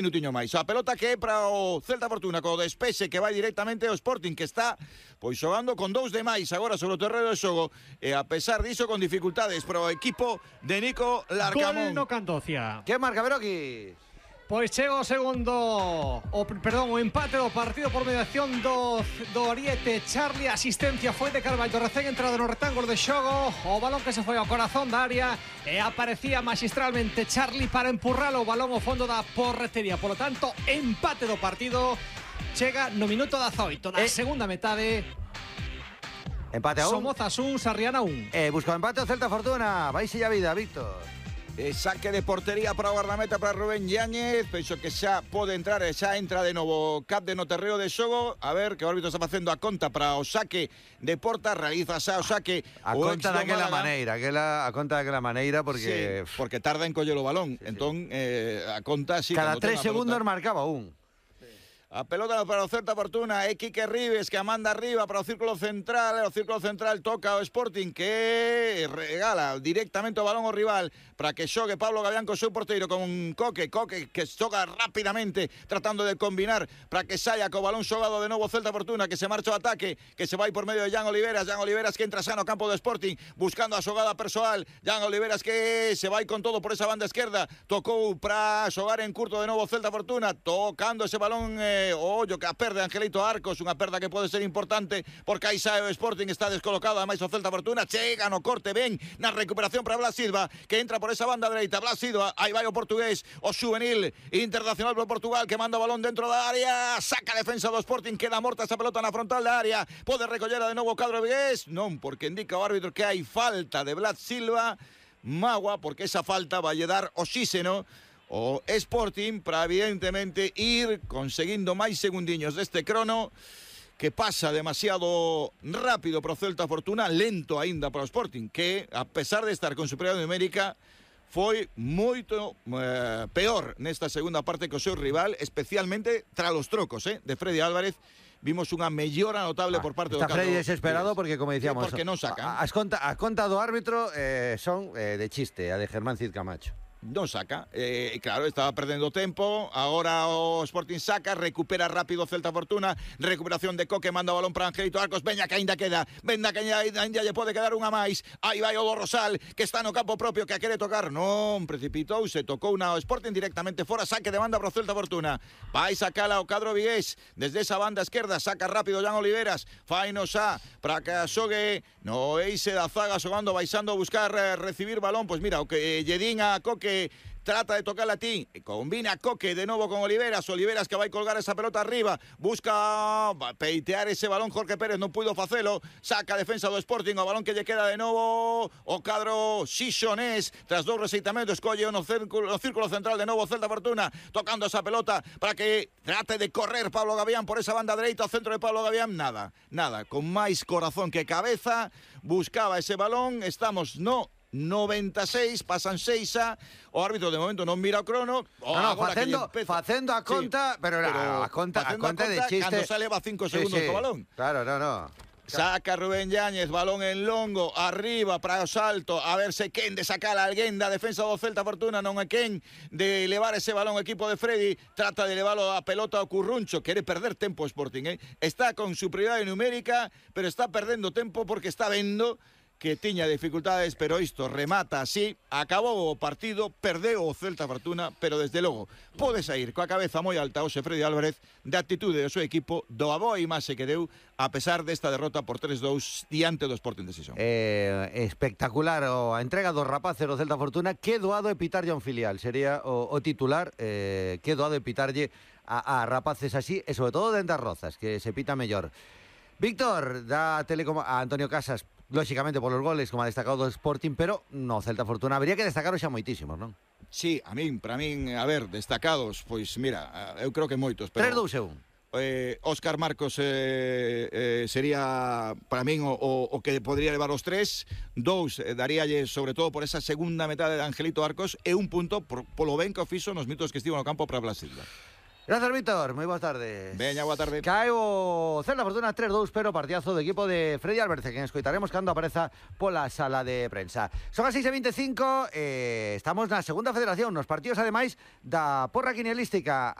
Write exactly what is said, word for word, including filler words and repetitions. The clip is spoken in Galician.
Minutiño máis. A pelota que é para o Celta Fortuna co despexe que vai directamente ao Sporting, que está pois xogando con dous de máis agora sobre o terreno de xogo, e a pesar diso con dificultades para o equipo de Nico Larcamón. Gol no Candocia. Que marca Beroki? Pois chega o segundo, o perdón, o empate do partido por mediación do, do Oriete Charlie. Asistencia foi de Carballo, recén entrado no rectángulo de xogo. O balón que se foi ao corazón da área e aparecía magistralmente Charlie para empurralo o balón ao fondo da porretería. Por lo tanto, empate do partido. Chega no minuto dezaoito da eh. segunda metade. Empate a un. Somozas un, Sarriana un. Eh, busca o empate o Celta Fortuna. Vai a vida, Víctor. E saque de portería para o guardameta para Rubén Yáñez. Penso que xa pode entrar e xa entra de novo Cap de no terreo de xogo. A ver que o árbitro está facendo a conta para o saque de porta. Realiza xa o saque a o conta daquela maneira, aquela, a conta daquela maneira porque sí, porque tarda en coller o balón. Sí, entón sí. Eh, a conta sí, cada tres segundos marcaba un. A pelota para o Celta Fortuna, é Quique Ribes que a manda arriba para o círculo central, o círculo central toca o Sporting que regala directamente o balón ao rival para que xogue Pablo Gavián co seu porteiro con Coque, Coque que xoga rapidamente tratando de combinar para que saia co balón xogado de novo o Celta Fortuna, que se marcha o ataque, que se vai por medio de Jan Oliveras, Jan Oliveras que entra xa no campo do Sporting buscando a xogada persoal, Jan Oliveras que se vai con todo por esa banda esquerda, tocou para xogar en curto de novo o Celta Fortuna, tocando ese balón eh, o ollo que a perde Angelito Arcos, unha perda que pode ser importante porque aí sae o Sporting, está descolocado ademais o Celta Fortuna, chega no corte ben na recuperación para Blas Silva que entra por esa banda dereita, Blas Silva, aí vai o portugués, o juvenil internacional por Portugal que manda o balón dentro da área, saca a defensa do Sporting, queda morta esa pelota na frontal da área, pode recollera de novo o cadro vigués, non, porque indica o árbitro que hai falta de Blas Silva, magua, porque esa falta vai dar oxígeno o Sporting para evidentemente ir conseguindo máis segundiños deste crono que pasa demasiado rápido para o Celta Fortuna, lento aínda para o Sporting, que a pesar de estar con superioridade numérica foi moito eh, peor nesta segunda parte que o seu rival, especialmente tras os trocos eh, de Freddy Álvarez. Vimos unha mellora notable ah, por parte do Está Freddy desesperado porque, como dicíamos, porque non sacan. As conta, a conta do árbitro eh, son eh, de chiste, a de Germán Cid Camacho. Non saca, eh, claro, estaba perdendo tempo. Agora o Sporting saca, recupera rápido Celta Fortuna, recuperación de Coque, manda o balón para Angelito Arcos, veña que ainda queda, veña que ainda lle pode quedar unha máis, aí vai o do Rosal, que está no campo propio, que a quere tocar, non, precipitou, se tocou na o Sporting directamente fora, saque de banda para o Celta Fortuna, vai sacala o cadro vigués, desde esa banda esquerda, saca rápido Jan Oliveras, faino xa, para que xogue no eixe da zaga, xogando, baixando a buscar eh, recibir balón, pois mira, o que lle din a Coque trata de tocar a ti, combina Coque de novo con Oliveras, Oliveras que vai colgar esa pelota arriba, busca peitear ese balón, Jorge Pérez non puido facelo, saca a defensa do Sporting, o balón que lle queda de novo o cadro xixonés, tras dous receitamentos, colle no círculo, no círculo central de novo Celta Fortuna, tocando esa pelota para que trate de correr Pablo Gavián por esa banda dereita, ao centro de Pablo Gavián, nada, nada, con máis corazón que cabeza, buscaba ese balón, estamos no noventa e seis, pasan seis a o árbitro de momento non mira o crono. Oh, no, no, facendo, facendo a conta, sí, pero, pero a conta, a conta, a conta de chiste. Cando sale va cinco segundos sí, sí. co balón. Claro, no, no. Saca Rubén Yáñez, balón en longo, arriba para o salto, a ver se quen de sacar a alguén da defensa do Celta Fortuna, non é quen de levar ese balón o equipo de Freddy, trata de leválo a pelota ao Curruncho, quere perder tempo o Sporting, eh? Está con superioridade numérica, pero está perdendo tempo porque está vendo que tiña dificultades, pero isto remata así, acabou o partido, perdeu o Celta Fortuna, pero desde logo pode sair coa cabeza moi alta hoxe Freddy Álvarez de actitude do seu equipo, do aboa imaxe que deu a pesar desta derrota por tres dous diante do Sporting de Sison. Eh, espectacular o a entrega dos rapaces do Celta Fortuna, que doado é pitarlle a un filial, sería o, o titular, eh, que doado é pitarlle a, a rapaces así, e sobre todo dentro das rozas, que se pita mellor. Víctor, da Telecom a Antonio Casas, lóxicamente por los goles, como ha destacado do Sporting, pero no Celta Fortuna habría que destacar xa moitísimos, non? Sí, a min, para min, a ver, destacados, pois mira, eu creo que moitos, pero tres dous e un. Eh, Óscar Marcos eh, eh, sería para min o, o, o que podría levar os tres. Dous eh, daríalle sobre todo por esa segunda metade de Angelito Arcos, e un punto por, polo ben que o fixo nos minutos que estivo no campo para Blas Silva. Gracias, Víctor. Moi boas tardes. Veña, boa tarde. Cae o Celta Fortuna tres dous, pero partidazo do equipo de Freddy Alberce, que escoitaremos cando apareza pola sala de prensa. Son as seis e veinticinco, eh, estamos na segunda federación, nos partidos ademais da porra quinielística.